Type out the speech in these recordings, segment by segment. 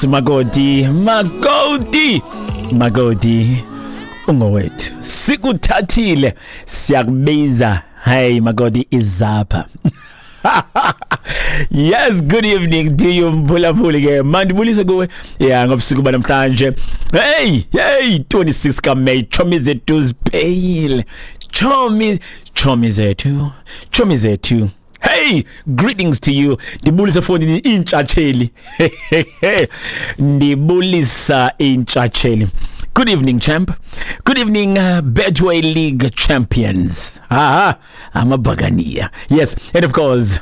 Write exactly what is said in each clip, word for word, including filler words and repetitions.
Makoti, makoti, makoti, ungowethu. Sikuthathile, siyakubiza. Hey makoti, izapha. Yes, good evening to you, mphulaphuli ke. Mandibulise kuwe. Yeah, ngobusuku banamhlanje. Hey, hey, twenty-six kaMay, chomi zethu zipeyile. Chomi, chomi zethu, chomi zethu. Hey, greetings to you. Ndibulisa fondini intshatsheli. Ndibulisa intshatsheli. Good evening, champ. Good evening, uh, Betway League champions. Aha, amabhakaniya. Yes, and of course,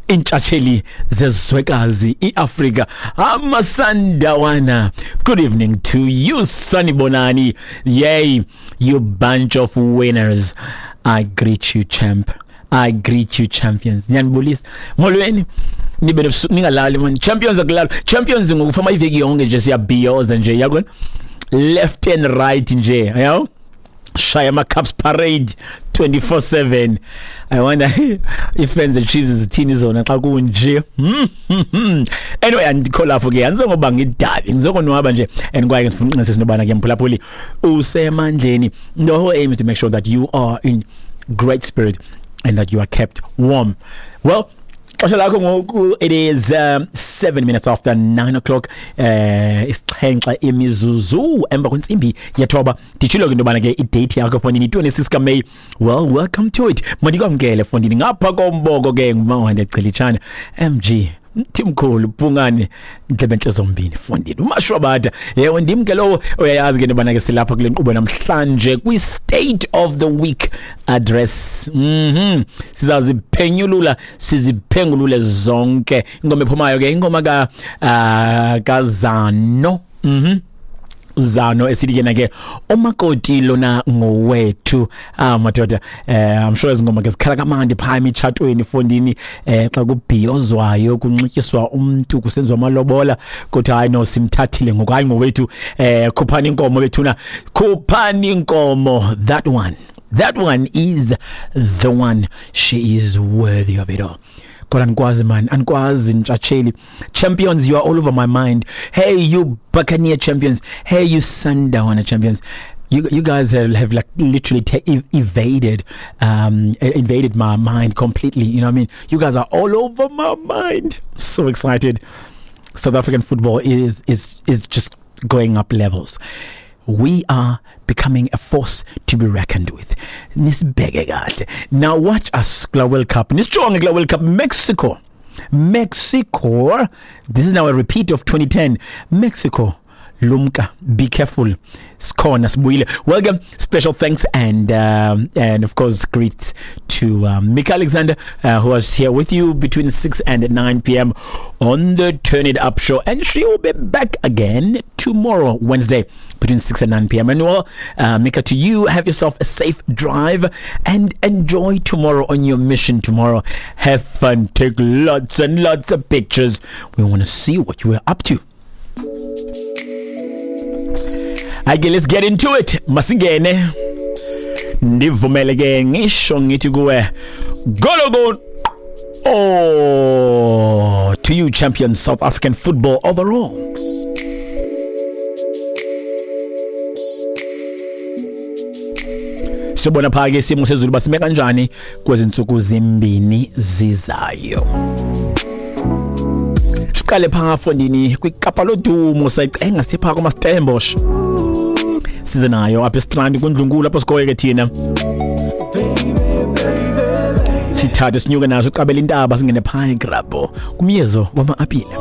intshatsheli zezwekazi iAfrika, amasandawana. Good evening to you, Sanibonani. Yay, you bunch of winners. I greet you, champ. I greet you, champions. Ngiyanibulisa. Molweni. Nibe nebusuku ningalali man. Champions akulala. Champions ngokufama iveki yonke nje siyabhiyoza nje yabona. Left and right nje, yabo. Shaya ama Cups parade twenty-four seven. I wonder if fans the Chiefs zithini zona xa kunje. Anyway, andikho lapho ke, angizoba ngidabi, ngizokonwaba nje and kwaye ngifuna uqinise sinobana ke mphulaphuli usemandleni. The whole aim is to make sure that you are in great spirit and that you are kept warm. Well, xesha lakho ngoku, it is um, seven minutes after nine o'clock, eh isixhenxe imizuzu emva kwentsimbi yethoba. Nditshilo ke into yobana ke idate yakho fondini twenty-six kaMay. Well, welcome to it. Mandikwamkele fondini ngapha komboko ke ngumawande Gcilitshana M G Mthimkhulu Bhungane Ndlebentle zombini fondini umashwabada. Yebo, ndim ke lowo uyayazi ke into yobana ke silapha kule nkqubo namhlanje kwi State of the Week address. Mhm sizaziphenyulula siziphengulule zonke. Ingoma ephumayo ke ingoma ka uh, kaZano. Mhm Zano esithi yena ke umakoti lona ngowethu. Ah madoda, eh I'm sure izingoma ke zikhala kamandi pha emitshatweni fondini, eh xa kubhiyozwayo kunxityiswa umuntu kusenziwa amalobola kodwa hayi no simthathile ngoku hayi ngowethu. Eh khuphani inkomo bethuna, khuphani inkomo. That one, that one is the one. She is worthy of it all. Kodwa anikwazi man, anikwazi ntshatsheli. Champions, you are all over my mind. Hey you Buccaneer champions, hey you Sandawana champions. You you guys have, have like literally ta- evaded um invaded my mind completely, you know what I mean? You guys are all over my mind. I'm so excited. South African football is is is just going up levels. We are becoming a force to be reckoned with. Nisibheke kahle. Now watch us kula World Cup. Nisijonge kula World Cup. Mexico. Mexico. This is now a repeat of twenty ten. Mexico. Lumka, be careful. Sikhona sibuyile. Welcome. Special thanks and um, and of course greets to um, Mika Alexander, uh, who was here with you between six and nine p.m. on the Turn It Up show, and she will be back again tomorrow, Wednesday, between six and nine p.m. And well, uh, Mika, to you, have yourself a safe drive and enjoy tomorrow on your mission tomorrow. Have fun, take lots and lots of pictures. We want to see what you were up to. Okay, let's get into it. Masingene. Ndivumele ke ngisho ngithi kuwe golo. Oh, to you champions South African football overall. Sibona pha ke isimo sezulu basime kanjani kwezinsuku zimbini zizayo. Siqale pha fondini kwiKapa lodumo sayicenga sipha kuma Stellenbosch. Size nayo apha eStrand kundlunkulu lapho sikoye ke thina. Sithathe sinyuke naso uqabela intaba singene pha eGrabho kumyezo wama-apile.